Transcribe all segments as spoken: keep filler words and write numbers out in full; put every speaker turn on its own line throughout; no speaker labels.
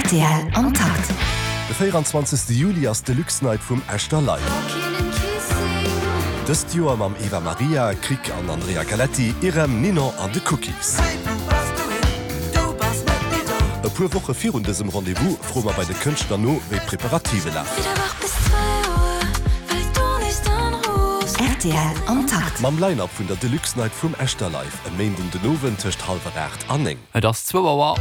Rtl am Takt.
De véieranzwanzegste Juli ass d'Deluxe Night vum Echter Live. Dëst Joer mam Eva Maria, Krick an Andrea Galetti, Irem, Ninon an de Cookies. E puer Woche virun dësem Rendez-vous froe mer bei de Kënschtler no, wéi d'Preparative lafen.
Rtl am Takt.
Mam Line-Up vun der Deluxe Night vum Echter Live e Méinden den Owend tëscht hallwer aacht an néng.
Et ass zwou Auer.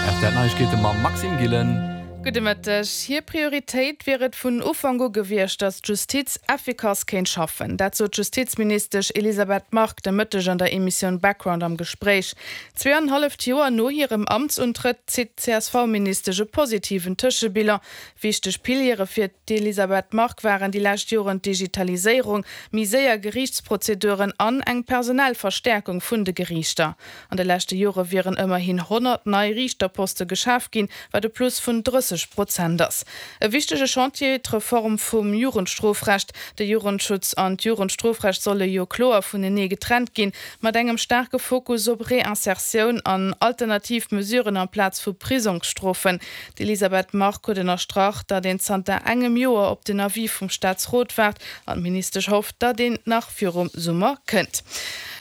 Rtl Neiegkeete mam Maxime Gillen.
Gudde Mëtteg. Hir Prioritéit wier et vun Ufank u gewiescht, datt d'Justiz effikass kéint schaffen. Dat sot d'Justizministesch Elisabeth Margue de Mëtteg an der Emissioun Background am Gespréich. Zwee an en halleft Joer no hirem Amtsuntrëtt zitt d'CSV-Ministesch e positiven Tëschebilan. Wichteg Piliere fir d'Elisabeth Margue waren déi lescht Joren d'Digitaliséierung, méi séier Geriichtsprozeduren an eng personell Verstäerkung vun de Geriichter. An de leschte Jore wieren ëmmerhin honnert nei Riichterposte geschaf ginn, wat e Plus vun drësseg Prozent ass. E wichtege Chantier, d'Reform vum Jugendstrofrecht. De Jugendschutz an d'Jugendstrofrecht solle jo kloer vunenee getrennt ginn, mat engem staarke Fokus op Reinsertioun an alternativ Mesuren amplaz vu Prisongsstrofen. D'Elisabeth Margue huet ënnerstrach, datt een zanter engem Joer op den Avis vum Staatsrot waart an d'Ministesch hofft, datt deen nach virum Summer kënnt.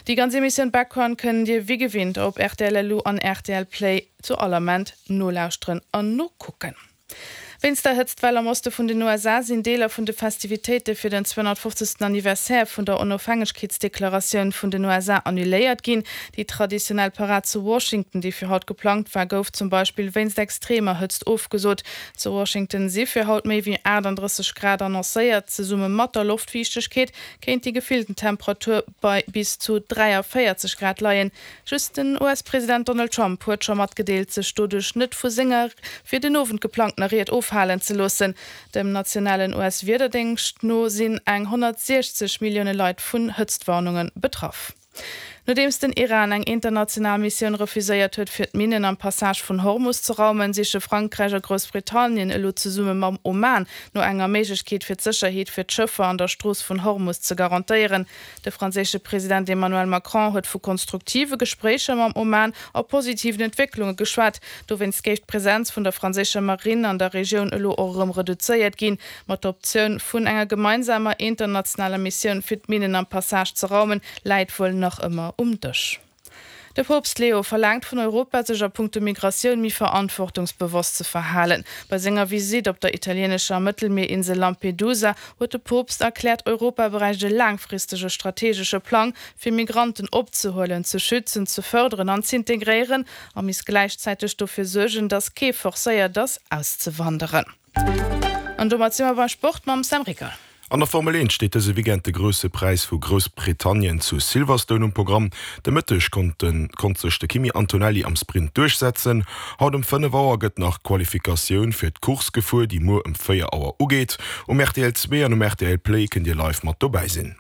Déi ganz Emissioun Background kënnt Dir wéi gewinnt op rtl Lu an rtl Play zu all Ament nolauschteren an nokucken. Wéinst der Hëtztwell am Oste vun den U S A sinn Deeler vun de Festivitéite fir den zweehonnertfofzegsten Anniversaire vun der Onofhängegkeetsdeklaratioun vun den U S A annuléiert ginn. Déi traditionell Parad zu Washington, déi fir haut geplangt war, gouf zum Beispill wéinst extremer Hëtzt ofgesot. Zu Washington si fir haut méi wéi aachtanddrësseg Grad annoncéiert. Zesumme mat der Loftfiichtegkeet kéint déi gefillten Temperatur bei bis zu dräiavéierzeg Grad leien. Just den U S-President Donald Trump huet scho matgedeelt, sech doduerch net vu senger fir den Owend geplangtener Ried ofhalen ze loossen. Dem nationalen U S-Wiederdéngscht no sinn eng honnertsiechzeg Millioune Leit vun Hëtztwarnunge betraff. Nodeems den Iran eng international Missioun refuséiert huet, fir d'Minnen am Passage vun Hormus ze raumen, siche Frankräich a Groussbritannien elo zesumme mam Oman no enger Méiglechkeet fir d'Sécherheet fir d'Schëffer an der Strooss vun Hormus ze garantéieren. De franséische President Emmanuel Macron huet vu konstruktive Gespréicher mam Oman a positiven Entwécklunge geschwat. Dowéinst géif d'Presenz vun der franséischer Marinn an der Regioun elo och erëm reduzéiert ginn. Ma d'Optioun vun enger gemeinsamer internationaler Missioun fir d'Minnen am Passage ze raumen, läit wuel nach ëmmer um Dësch. De Poopst Leo verlaangt vun Europa, sech a punkto Migratioun méi verantwortungsbewosst ze verhalen. Bei senger Visitt op der italieenescher Mëttelmierinsel Lampedusa huet de Poopst erkläert, Europa bräicht e laangfristege strategesche Plang, fir Migranten opzehuelen, ze schützen, ze fërderen an z'integréieren a misst gläichzäiteg dofir suergen, datt kee forcéiert ass, auszewanderen. An domat si mer beim Sport mam Sam Ricker.
An der Formel eent steet dëse Weekend de Grousse Präis vu Groussbritannien zu Silverstone um Programm. De Mëtteg konnt konnt sech de Kimi Antonelli am Sprint duerchsetzen. Haut ëm fënnef Auer gëtt nach d'Qualifikatioun fir d'Course gefuer, déi muer ëm véier Auer ugeet. Um rtl zwee an um rtl Play kënnt Dir live mat dobäi sinn.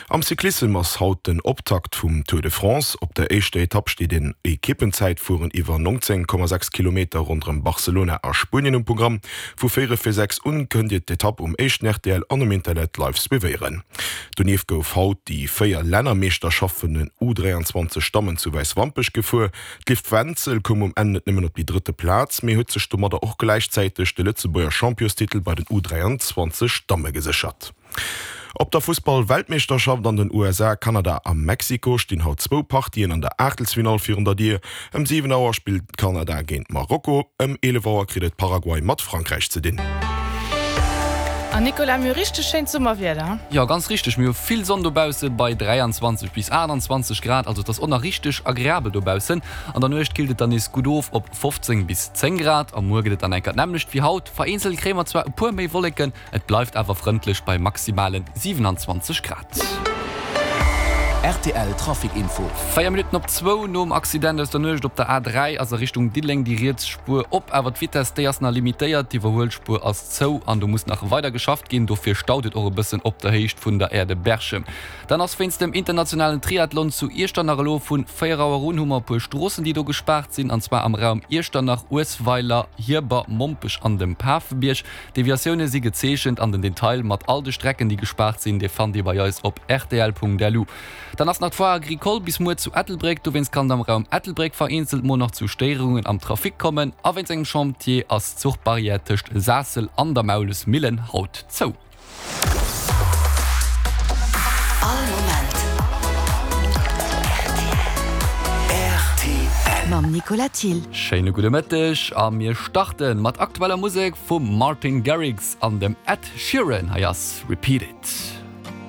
Am Cyclissem ass haut den Optakt vum Tour de France. Op der éischter Etapp steet en Ekippenzäitfueren iwwer nonzéng Komma sechs Kilometer ronderëm Barcelona a Spuenien um Programm. Vu véierel vir sechs un kënnt Dir d'Etapp um éischten rtl an um Internet live suivéieren. Donieft gouf haut déi véier Lännermeeschterschaft vun den U dräianzwanzeg Dammen zu Wäiswampech gefuer. D'Liv Wenzel koum um Enn net nëmmen op déi drëtte Plaz, mee huet sech domadder och gläichzäiteg de Lëtzebuerger Championstitel bei den U dräianzwanzeg Damme geséchert. Op der Fussball-Weltmeeschterschaft an den U S A, Kanada a Mexiko stinn haut zwou Partien an der Aachtelsfinall virun der Dier. Ëm siwen Auer spillt Kanada géint Marokko, ëm eelef Auer kritt et Paraguay mat Frankräich ze dinn.
An Nicolas, mir hu richteg schéint Summerwieder.
Jo, ganz richteg, mir hu vill Sonn dobausse bei dräianzwanzeg bis aachtanzwanzeg Grad, also et ass och nach richteg agreabel dobaussen. An der Nuecht killt et dann nees gutt of op fofzéng bis zéng Grad a muer gëtt et dann enker d'nämmlecht wéi haut. Vereenzelt kréie mer zwar e puer méi Wolleken, et bleift awer frëndlech bei maximale siwenanzwanzeg Grad.
Rtl Trafic Info.
Véier Minutten op zwou. Nom Accident aus der Nuecht op der A dräi ass a Richtung Diddeleng déi riets Spuer op, awer d'Vitess déi ass nach limitéiert. D'Iwwerhuelspuer ass zou an do muss nach weider geschafft ginn. Dofir staut et och e bëssen op der Héicht vun der Aire de Berchem. Dann ass wéinst dem internationalen Triathlon zu Iechternach elo vun véier Auer un hu mer e puer Stroossen déi do gespaart sinn, an zwar am Raum Iechternach, Uesweiler, Hierber, Mompech an dem Pafebierg. Deviatioune si gezeechent an den Detail mat all de Strecken déi gespaart sinn, dee fannt dir bei eis op rtl Punkt lu. Dann ass nach d'Foire Agricole bis muer zu Ettelbréck, dowéinst kann et am Raum Ettelbréck vereenzelt mol nach zu Stéierungen am Trafic kommen. A wéinst engem Chantier ass d'Zuchbarrière tëscht Saassel an der Maulesmillen haut zou.
All Moment rtl. Mam Nicolas Thill.
Schéine gudde Mëtteg a mir starte mat aktueller Musek vum Martin Garrix an dem Ed Sheeran. Hei ass Repeat It.